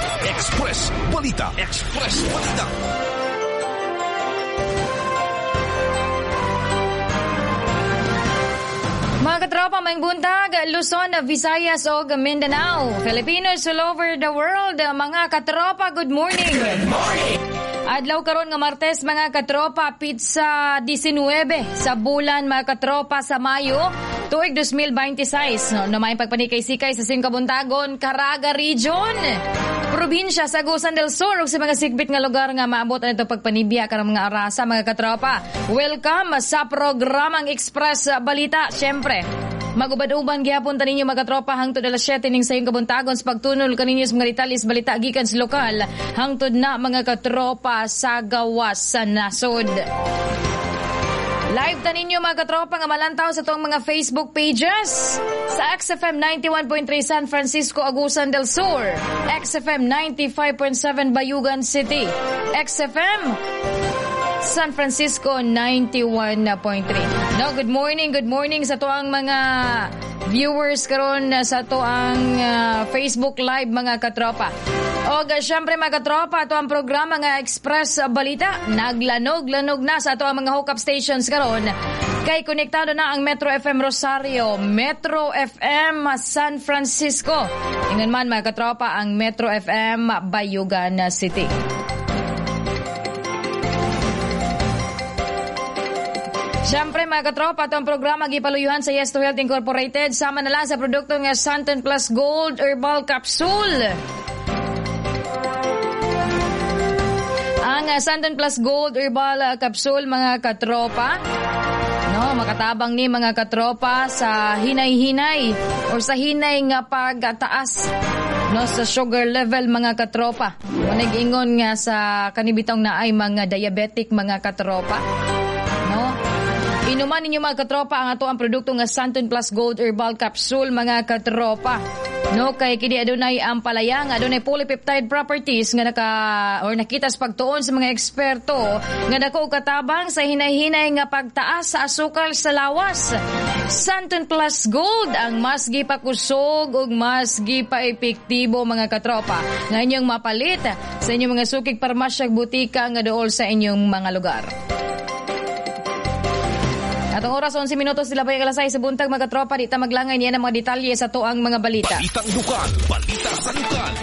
Express Balita. Express Balita. Mga katropa, may buntag, Luzon, Visayas o Mindanao. Filipinos all over the world, mga katropa, good morning. Good morning. Adlaw karon nga Martes, mga katropa, pizza 19 sa bulan, mga katropa, sa Mayo, tuig 2026. No, na may pagpanikay-sikay sa Singkabuntagon, Caraga Region, probinsya sa Agusan del Sur ug sa mga sigbit nga lugar nga maabot anito pagpanibya karong mga arasa, mga katropa. Welcome sa programang Express Balita. Syempre, magubad-uban gihapon ta ninyo, mga katropa, hangtod alas 7 ning sayong kabuntagon sa pagtunol kaninyo sa mga detalye sa balita gikan sa lokal hangtod na, mga katropa, sa gawas sa nasod. Live ta ninyo, mga katropa, nga malantaw sa atong mga Facebook pages sa XFM 91.3 San Francisco, Agusan del Sur, XFM 95.7 Bayugan City, XFM San Francisco 91.3. No, good morning sa tuang mga viewers karon sa tuang Facebook Live, mga katropa. O syempre, mga katropa, ato ang programa nga Express Balita naglanog-lanog na sa ato ang mga hookup stations karon. Kay konektado na ang Metro FM Rosario, Metro FM San Francisco. Ingon man, mga katropa, ang Metro FM Bayugan City. Siyempre, mga katropa, ito ang programa gipaluyuhan sa Yes to Health Incorporated. Sama na lang sa produkto nga Santon Plus Gold Herbal Capsule. Ang Santon Plus Gold Herbal Capsule, mga katropa, no, makatabang ni, mga katropa, sa hinay-hinay o sa hinay nga pagtaas, no, sa sugar level, mga katropa. Manag-ingon nga sa kanibitong na ay mga diabetic, mga katropa. No? Inuman ninyo, mga katropa, ang ato ang produkto nga Santon Plus Gold Herbal Capsule, mga katropa. No, kay kini adunay ang palayang, adunay polypeptide properties nga naka or nakita sa pagtuon sa mga eksperto nga dako katabang sa hinay-hinay nga pagtaas sa asukal sa lawas. Santon Plus Gold ang mas gipakusog ug mas gipaepektibo, mga katropa, nga inyong mapalit sa inyong mga sukig parmasya, butika nga duol sa inyong mga lugar. Atong oras, 11 minutos sila pa alas 6 sa buntag, mga katropa, di ta maglangay niya ng mga detalye sa tuang mga balita. Balitang lokal, balita sa lokal.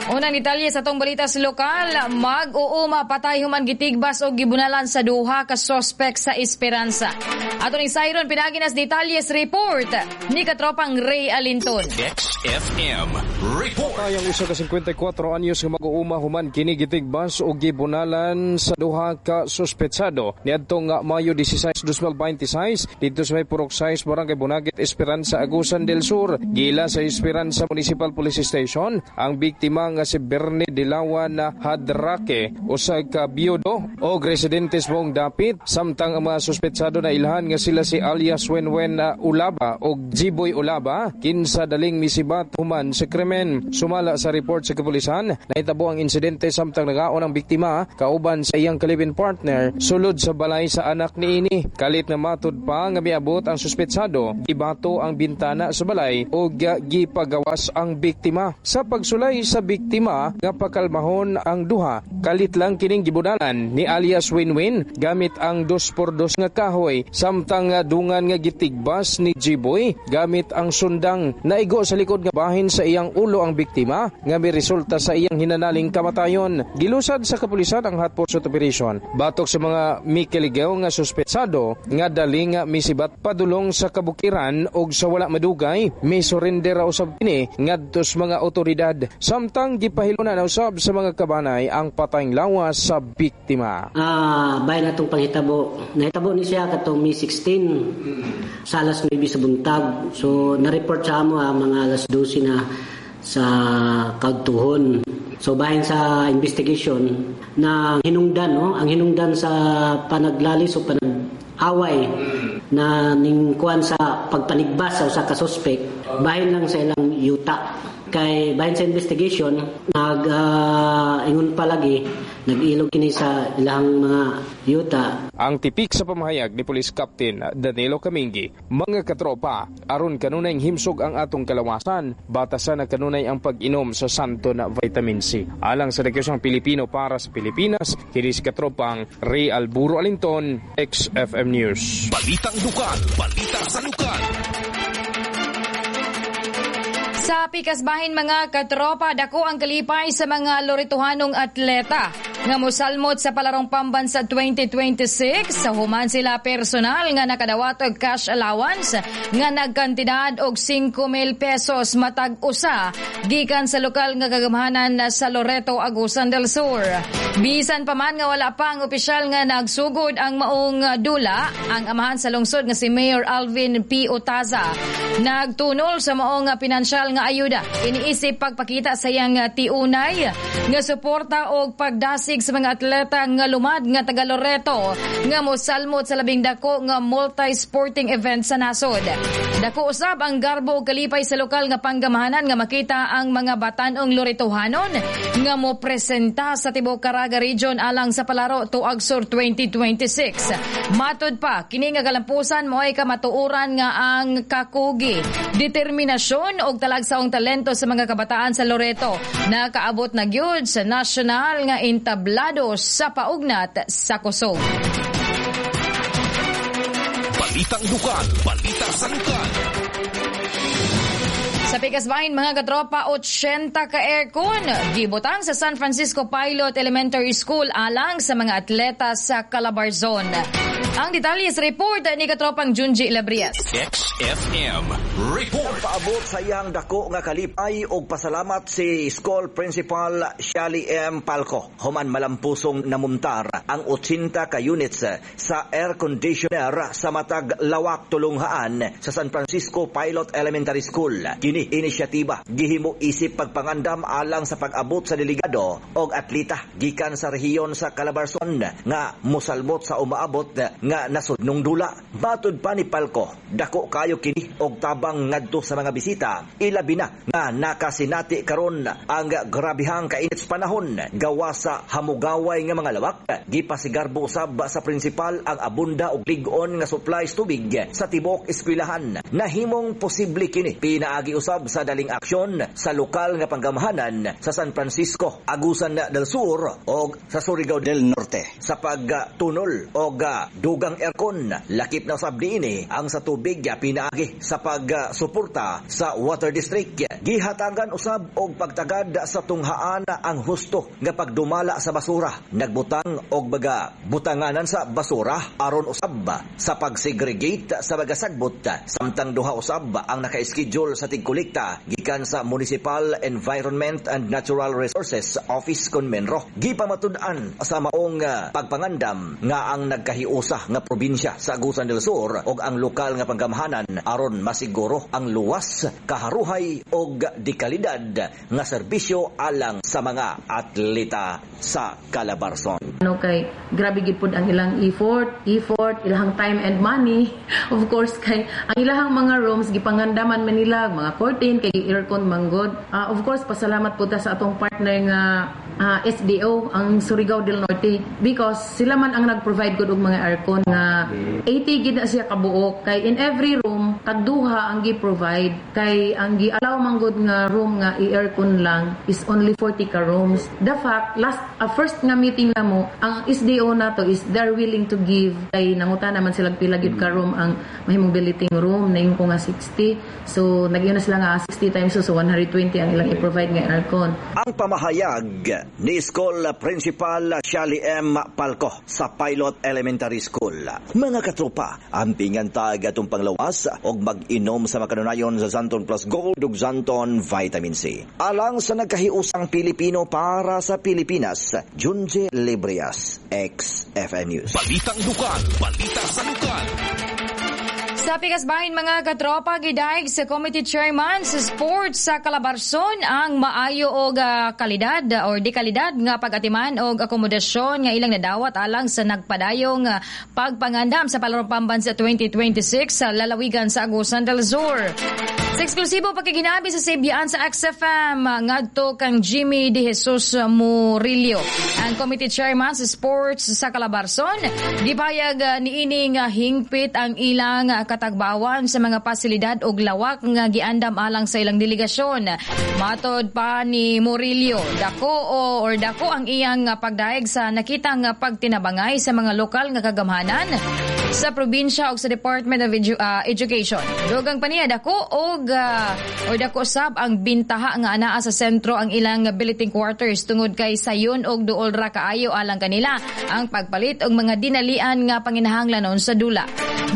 Unang detalye sa atong balita sa lokal, mag-uuma patay human gitigbas o gibunalan sa duha ka sospek sa Esperanza. Ato ning Siron pinaginas detalye sa report ni katropang Ray Alinton. XFM Report. Patay ang usa ka 54 anyos nga mag-uuma human kini gitigbas o gibunalan sa duha ka suspetsado niadtong nga Mayo 16, 2026 didto sa may Purok 6, Barangay Bunagit, Esperanza, Agusan del Sur. Gila sa Esperanza Municipal Police Station ang biktima nga si Bernie Dilawan Hadrake, usa ka biyudo o residente sa buong dapit, samtang ang mga suspetsado na ilhan nga sila si alias Wenwen Ulaba o Jiboy Ulaba, kinsa daling misibat human sa krimen. Sumala sa report sa kapulisan, nahitabo ang insidente samtang nagaon ang biktima kauban sa iyang kalibin partner sulod sa balay sa anak niini. Kalit na matud pa nga miabot ang suspetsado, gibato ang bintana sa balay o gipagawas ang biktima. Sa pagsulay sa biktima nga pakalmahon ang duha, kalit lang kining gibunalan ni alias Winwin gamit ang 2x2 nga kahoy, samtang dungan nga gitigbas ni Jiboy gamit ang sundang. Naigo sa likod nga bahin sa iyang ulo ang biktima nga miresulta sa iyang hinanaling kamatayon. Gilusad sa kapulisan ang hot pursuit operation batok sa mga mikiligaw nga suspetsado nga dali nga misibat padulong sa kabukiran og sa wala madugay misurrender ra usab kini ngadto sa mga otoridad, samtang gipahilunan usab sa mga kabanay ang patayng lawas sa biktima. Bahin atong panghitabo. Nahitabo ni siya katong May 16 sa alas 9 sa buntag. So na-report sa amo mga alas 12 na sa Kaudtuhon. So bahin sa investigation na hinungdan, no, ang hinungdan sa panaglalis o panag-away na ning kuan sa pagpanigbas sa usa ka suspect bahin lang sa ilang yuta. Kay bahin sa investigation, nag ingon palagi nag-ilog kini sa ilang mga yuta. Ang tipik sa pamahayag ni Police Captain Danilo Camingi, mga katropa, aron kanunay himsog ang atong kalawasan, batasan na kanunay ang pag-inom sa Santo na Vitamin C. Alang sa Nagkasang Pilipino para sa Pilipinas, kini si katropang Ray Alburo Alinton, XFM News. Balitang lokal, balita sa lokal. Sa pikasbahin, mga katropa, dako ang kalipay sa mga Loretohanong atleta nga mosalmot sa Palarong Pambansa 2026 sa human sila personal nga nakadawat og cash allowance nga nagkantidad og 5,000 pesos matag usa gikan sa lokal nga kagamhanan sa Loreto, Agusan del Sur. Bisan pa man nga wala pa ang opisyal nga nagsugod ang maong dula, ang amahan sa lungsod nga si Mayor Alvin P. Otaza nagtunol sa maong pinansyal nga ayuda. Iniisip pagpakita sa iyang tiunay nga suporta og pagdasig sa mga atleta nga lumad nga taga Loreto nga mosalmot sa labing dako nga multi-sporting event sa nasod. Dako usab ang garbo ug kalipay sa lokal nga panggamahanan nga makita ang mga batan-ong Loretohanon nga mo presenta sa tibuok Caraga Region alang sa Palaro Tuag Sur 2026. Matod pa, kini nga kalampusan mo ay kamatuoran nga ang kakugi, determinasyon og talagsaong talento sa mga kabataan sa Loreto nakaabot na gyud sa nasyonal nga entablado sa paugnat sa kusog. Balitang lokal, balita sa lokal. Sa Pikasbahin, mga katropa, 80 ka aircon gibutang sa San Francisco Pilot Elementary School alang sa mga atleta sa Calabarzon. Ang detalye sa report ni katropang Junji Labrias. XFM Report. Paabot sa iyang dako nga kalipay og pasalamat si School Principal Shali M. Palco human malampusong namuntar ang 80 ka units sa air conditioner sa matag lawak tulunghaan sa San Francisco Pilot Elementary School. Kini inisyatiba gihimo isip pagpangandam alang sa pag-abot sa delegado og atleta gikan sa rehiyon sa Calabarzon nga mosalbot sa umaabot nga nasudnong dula. Matud pa ni Palco, dako kayo kini og tabang ngadto sa mga bisita, ilabi na nga nakasinati karon ang grabihang kainit sa panahon gawa sa hamugaway nga mga lawak. Gipasigarbo usab sa prinsipal ang abunda og lig-on nga supplies tubig sa tibuok eskwelahan. Nahimong posible kini pinaagi usab sa daling aksyon sa lokal nga panggamahanan sa San Francisco, Agusan del Sur og sa Surigao del Norte sa pagtunol og dugang aircon. Lakip na usab niini ang sa tubig pinaagi sa pagsuporta sa Water District. Gihatagan usab og pagtagad sa tunghaan ang husto nga pagdumala sa basura. Nagbutang og baga butanganan sa basura aron usab sa pagsegregate sa mga sagbot, samtang duha usab ang naka-schedule sa tigkolekta gikan sa Municipal Environment and Natural Resources Office kon Menro. Gipamatud-an sa maong pagpangandam nga ang nagkahiusa nga probinsya sa Agusan del Sur og ang lokal nga panggamhanan aron masiguro ang luwas, kaharuhay og dekalidad nga serbisyo alang sa mga atleta sa Calabarzon. Ano kay grabe gid pud ang ilang effort, ilahang time and money. Of course kay ang ilahang mga rooms gipangandaman man nila mga curtain kay aircon manggod. Of course pasalamat pud ta sa atong partner nga SDO, ang Surigao del Norte, because sila man ang nag-provide gud og mga aircon nga 80 gid na siya kabuok, kay in every room tagduha ang gi-provide, kay ang gi-allow man gud nga room nga i-aircon lang is only 40 ka rooms. The fact last first nga meeting namo ang SDO nato is they're willing to give, kay nanguta naman sila pila gid ka room ang mahimong billeting room, naingon ko nga 60, so nag-iyon na sila nga 60 times so 120 ang ilang i-provide nga aircon. Ang pamahayag ni School Principal Shali M. Palco sa Pilot Elementary School. Mga katropa, ampingan tag atong panglawas og mag-inom sa makanunayon sa Xanthone Plus Gold ug Xanthone Vitamin C. Alang sa nagkahiusang Pilipino para sa Pilipinas, Junji Librias, XFM News. Balitang lokal, balita sa lokal. Sa Pikasbahin, mga katropa, gidaig sa committee chairman sa sports sa Calabarzon ang maayo og kalidad or di kalidad nga pag-atiman og akomodasyon nga ilang nadawat alang sa nagpadayong pagpangandam sa Palarong Pambansa 2026 sa lalawigan sa Agusan del Sur. Sa eksklusibo pakiginabi sa Sibyaan sa XFM, ngadto kang Jimmy De Jesus Murillo, ang committee chairman sa sports sa Calabarzon, gipayag niini nga hingpit ang ilang katagbawan sa mga pasilidad og lawak nga giandam alang sa ilang delegasyon. Matod pa ni Murillo, dako ang iyang pagdaig sa nakitang pagtinabangay sa mga lokal nga kagamhanan sa probinsya ug sa Department of Education. Dugang pa niya, dako sab ang bintaha nga anaa sa sentro ang ilang billeting quarters tungod kay sayon og duol ra kaayo alang kanila ang pagpalit og mga dinalian nga panginahanglanon sa dula.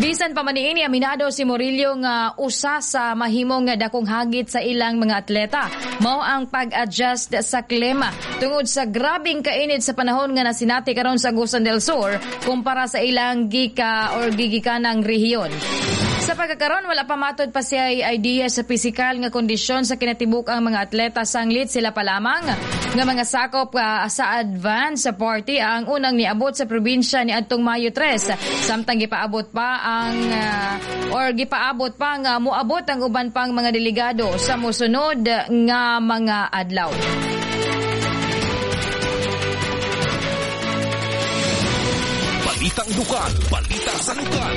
Bisan pa man niini, aminado si Murillo nga usa sa mahimong dakong hagit sa ilang mga atleta mao ang pag-adjust sa klima tungod sa grabing kainit sa panahon nga nasinati karon sa Agusan del Sur kumpara sa ilang gika or gigikanang rehiyon. Sa pagkakaron, wala pa matod pa siya idea sa pisikal nga kondisyon sa kinatibuk ang mga atleta, sanglit sila pa lamang nga mga sakop sa advance sa party ang unang niabot sa probinsya ni adtong Mayo 3, samtang gipaabot pa ang or gipaabot pa nga moabot ang uban pang mga delegado sa mosunod nga mga adlaw. Balitang lokal, balita sa lokal.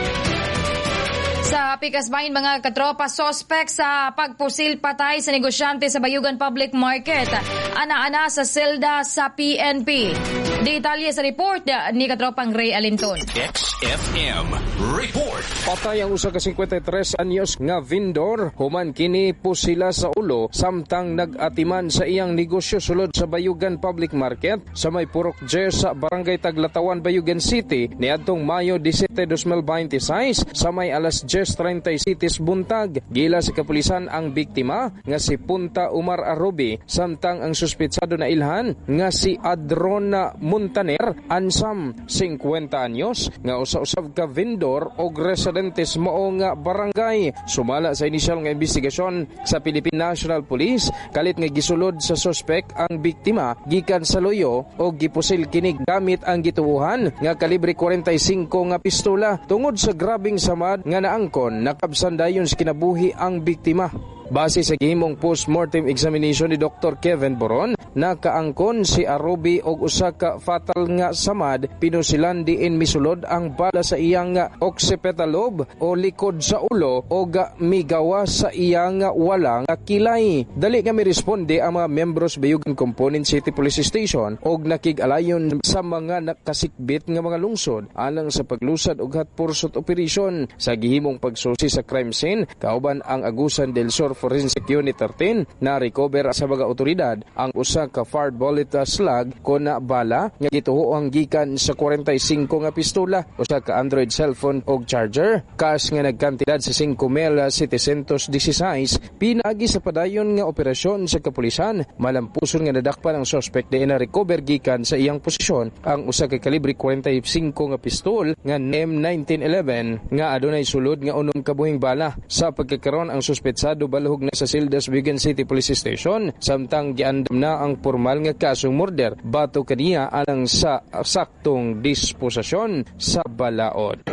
Sa Pikasbahin, mga katropa, sospek sa pagpusil patay sa negosyante sa Bayugan Public Market, ana-ana sa selda sa PNP. Detalye sa report ni katropang Ray Alinton. XFM Report. Patay ang usa ka 53 anyos nga vendor human kini pusila sa ulo samtang nag-atiman sa iyang negosyo sulod sa Bayugan Public Market sa may Purok J sa Barangay Taglatawan, Bayugan City niadtong Mayo 17, 2026 sa may alas 10:37 buntag. Gila sa kapulisan ang biktima nga si Punta Umar Arubi, samtang ang suspetsado na ilhan nga si Adrona Montaner Ansam, 50 anyos, nga usa-usab ka vendor og residentes mao nga barangay. Sumala sa inisyal nga investigasyon sa Philippine National Police, kalit nga gisulod sa suspek ang biktima gikan sa luyo og gipusil kini gamit ang gituohan nga kalibre 45 nga pistola. Tungod sa grabing samad nga naangkon, nakabsan dayon sa kinabuhi ang biktima. Base sa gihimong post-mortem examination ni Dr. Kevin Boron, nakaangkon si Arubi og usa ka fatal nga samad, pinusilan diin misulod ang bala sa iyang occipital lobe o likod sa ulo og migawa sa iyang wala nga kilay. Dali nga miresponde ang mga membros Bayugan Component City Police Station og nakig-alayon sa mga nakasikbit nga mga lungsod alang sa paglusad og hot pursuit operation. Sa gihimong pagsusi sa crime scene, kauban ang Agusan del Sur Forensic Unit 13, na recover sa mga otoridad ang usa ka fired bullet slug kon bala nga gituoang gikan sa 45 nga pistola, usa ka Android cellphone og charger, cash nga nagkantidad sa 5,716. Pinaagi sa padayon nga operasyon sa kapulisan, malampuson nga nadakpan ang suspect diin na recover gikan sa iyang posisyon ang usa ka kalibre 45 nga pistol nga M1911 nga adunay sulod nga unom ka buhing bala. Sa pagkakaron, ang suspetsado balhog na sa Sildas Vigan City Police Station, samtang giandam na ang formal nga kasong murder bato kaniya alang sa saktong disposisyon sa balaod.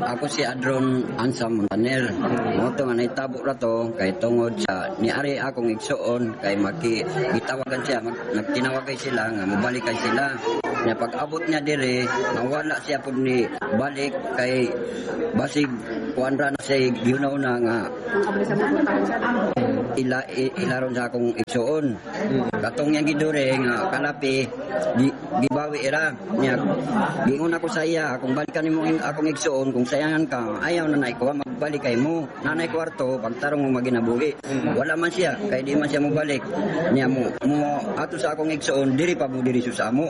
Ako si Adron Ansam Montaner. Mo to nga nahitabo ra to kay tungod sa niari akong igsuon kay maki gitawagan siya, nagtinawagay sila nga mobalik kay sila. Nya pag-abot niya dire, nawala siya pud ni balik kay basig kuan ra na siya giunaw na nga ilaron sa akong igsuon. Katong yang gidure nga kalapi gibawi ra nya. Giingon ako sa iya, kung balikan nimo akong igsuon, kung sayangan ka, ayaw na naikuha, magbalik kay mo. Nanay kwarto, pagtarong mo maginabuhi. Wala man siya, kay di man siya mobalik. Nya mo ato sa akong igsuon, diri pa mo diri sa amo.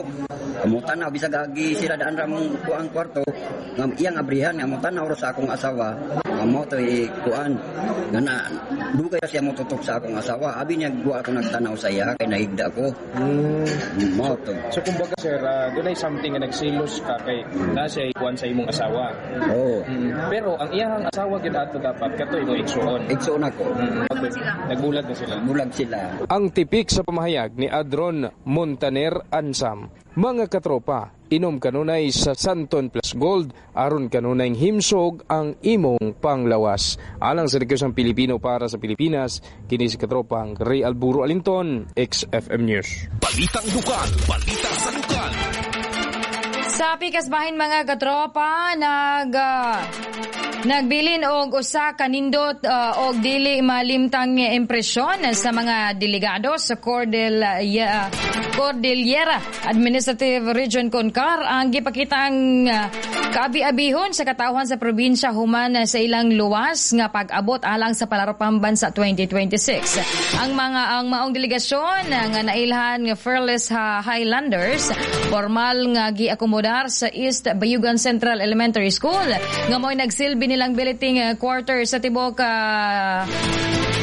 Mo tanaw bisag agi sila daan ra mong kuang kwarto, nga iyang abrihan nga mo tanaw ra sa akong asawa. Nga mo to kuan nga na dugay siya mo tutok sa akong asawa. Abi niya guwa ako nagtanaw sa iya kay nahigda ko. Mo to. So kumbaga sir, dunay something nga nagsilos ka kay na siya kuan sa imong asawa. Oo. Pero ang iyang asawa gyud ato dapat kato imong igsuon. Igsuon ako. Nagbulag na sila. Bulag sila. Ang tipik sa pamahayag ni Adron Montaner Ansam. Mga katropa, Inom kanunay sa Santon Plus Gold aron kanunay himsog ang imong panglawas. Alang sa Rekyosang Pilipino para sa Pilipinas, kini si katropang Ray Alburo Alinton, XFM News. Balitang lokal, balita sa lokal. Sa pikas bahin, mga katropa, nagbilin og usa ka nindot og dili malimtang impresyon sa mga delegado sa Cordillera Administrative Region, CONCAR, ang gipakitang kaabi-abihon sa katawhan sa probinsya human sa ilang luwas nga pag-abot alang sa Palaro Pambansa 2026. Ang maong delegasyon nga nailhan nga Fearless Highlanders formal nga giakomodar sa East Bayugan Central Elementary School nga mo'y nagsilbi nilang billeting quarter sa tibok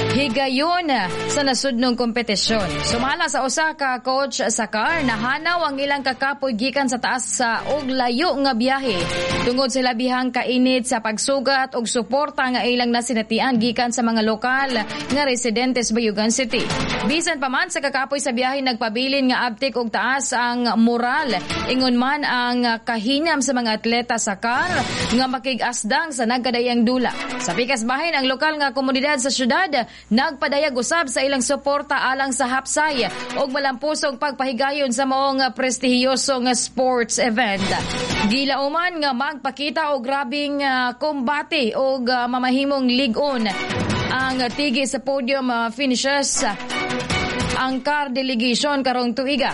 higayon sa nasudnong kompetisyon. Sumala sa usa ka coach sa CAR, nahanaw ang ilang kakapoy gikan sa taas sa og layo nga biyahe tungod sa labihang kainit sa pagsugat og suporta nga ilang nasinatian gikan sa mga lokal nga residente sa Bayugan City. Bisan pa man sa kakapoy sa biyahe, nagpabilin nga abtik og taas ang moral, ingon man ang kahinam sa mga atleta sa CAR nga makig-asdang sa nagkadayang dula. Sa pikas bahin, ang lokal nga komunidad sa syudad nagpadayag usab sa ilang suporta alang sa hapsay og malampusong pagpahigayon sa maong prestihiyoso nga sports event. Gilauman nga magpakita og grabing kombate og mamahimong lig-on ang tigi sa podium finishes ang CAR delegation karong tuiga.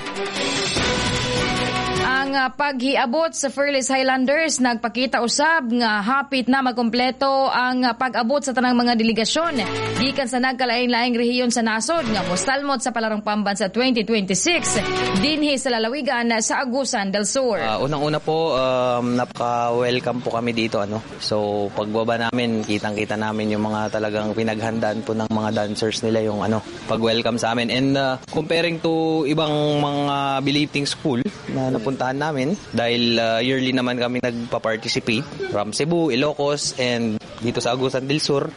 Ang paghiabot sa Fearless Highlanders nagpakita usab nga hapit na makumpleto ang pag-abot sa tanang mga delegasyon gikan sa nagkalain-laing rehiyon sa nasod nga mosalmot sa Palarong Pambansa 2026 dinhi sa lalawigan sa Agusan del Sur. Unang-una po, napaka-welcome po kami dito, ano. So pagbaba namin, kitang-kita namin yung mga talagang pinaghandaan po ng mga dancers nila yung ano, pag-welcome sa amin. And comparing to ibang mga billeting school na napuntahan namin dahil yearly naman kami nagpa-participate from Cebu, Ilocos and dito sa Agusan del Sur,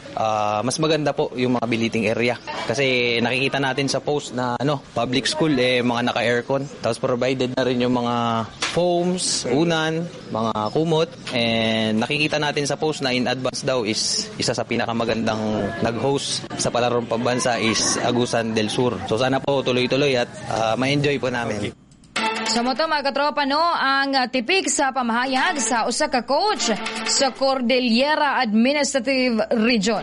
mas maganda po yung mga billeting area kasi nakikita natin sa post na ano, public school eh mga naka-aircon, tapos provided na rin yung mga foams, unan, mga kumot, and nakikita natin sa post na in advance daw is isa sa pinakamagandang nag-host sa Palarong Pambansa is Agusan del Sur. So sana po tuloy-tuloy at ma-enjoy po namin. Okay. So mo to, mga katropa, no, ang tipik sa pamahayag sa usa ka coach sa Cordillera Administrative Region.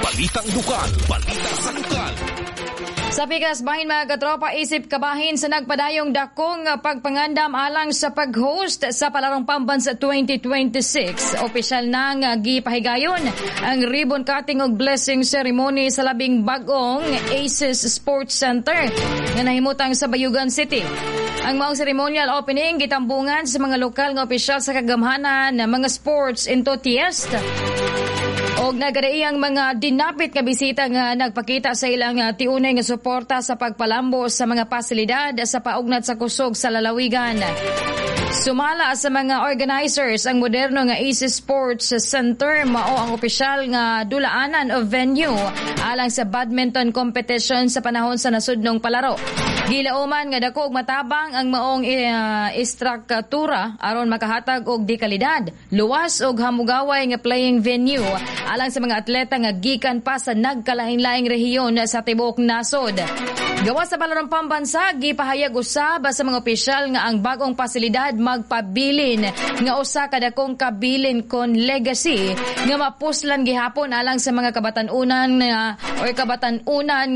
Balitang lokal, balita sa lokal. Sa pikas bahin, mga katropa, isip kabahin sa nagpadayong dakong pagpangandam alang sa pag-host sa Palarong Pambansa 2026, opisyal nang gipahigayon ang ribbon cutting ug blessing ceremony sa labing bagong Aces Sports Center nga nahimutang sa Bayugan City. Ang maong ceremonial opening gitambungan sa mga lokal nga opisyal sa kagamhanan, mga sports enthusiast og nagkadaiyang mga dinapit nga bisita nga nagpakita sa ilang tiunay nga suporta sa pagpalambo sa mga pasilidad sa paugnat sa kusog sa lalawigan. Sumala sa mga organizers, ang moderno nga Aces Sports Center mao ang opisyal nga dulaanan o venue alang sa badminton competition sa panahon sa nasudnong palaro. Gilauman nga dako og matabang ang maong istruktura aron makahatag og dekalidad, luwas og hamugaway nga playing venue alang sa mga atleta nga gikan pa sa nagkalain-laing rehiyon sa tibuok nasod. Gawas sa Palarong Pambansa, gipahayag usab sa mga opisyal nga ang bagong pasilidad magpabilin nga usa ka dakong kabilin kon legacy nga mapuslan gihapon alang sa mga kabatan-unan or kabatan-unan.